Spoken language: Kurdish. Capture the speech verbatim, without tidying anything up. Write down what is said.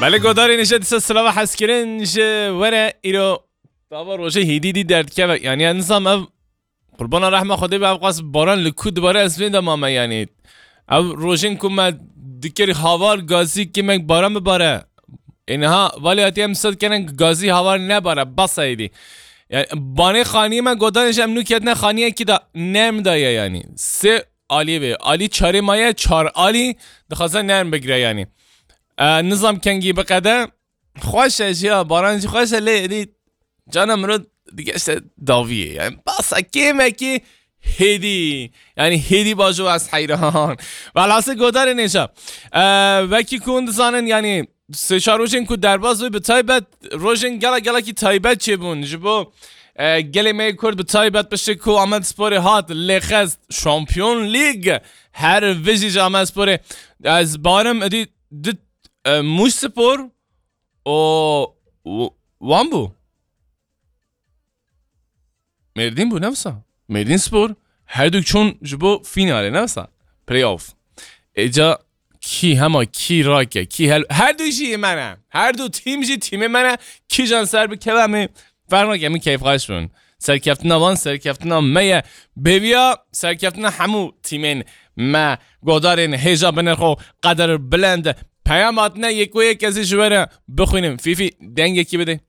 Belê godarên hêja dîsa silava hezkirin ji we re îro tava rojê hêdî dî derdikeve. Yani, yani nizam ev qurbana rehma Xwedê be, ev qas baran li ku dibare ez vê de mame yani. Ev rojên ku me dikir havar gazî kimek baran bibare. Ê niha valê hatiye em sed kenen gazî havar nebare, basa hêdî. Yani, banê xaniyê me godarên ji em nû ketine xaniyekî de nerm daye yani. Sê alî vê. Alî çarê maye, çar alî dixwaze nerm bigire yani. E, nizam kengî biqede. Xweş e jî ya, baran jî xweş e, lê êdî cana mirov digeşte dawiyê. Yani basa kêmekî hêdî. Yani hêdî bajo ez heyran. Velhasil godarên hêja. E, wekî ku hûn dizanin yani sê çar rojên ku derbas bû, bi taybet rojên gela gelekî taybet çêbûn. Ji bo, e, gelê me yê Kurd bi taybet piştî ku Amedsporê hat lêxest Şampiyon Lîg, her vijî ji Amedsporê ez barim êdî di, e, Mûş Spor û w-, wan bû. Mêrdîn bû, ne wisa. Mêrdîn Spor, her du çûn ji bo fînalê, ne wisa. Playoff. Êca kî hema kî rake, kî hel-, her du jî me ne. Her du tîm jî tîmê me ne. Kîjan ser bikeve em ê ferq nake, em ê keyfxweş bin. Serkeftina wan, serkeftina me ye. Bêviya serkeftina hemû tîmên me, godarên hêja binirxo, qeder bilind. Peyam hatine yek û yek ez ê ji we re bixwînim. Fîfî, dengekî bide.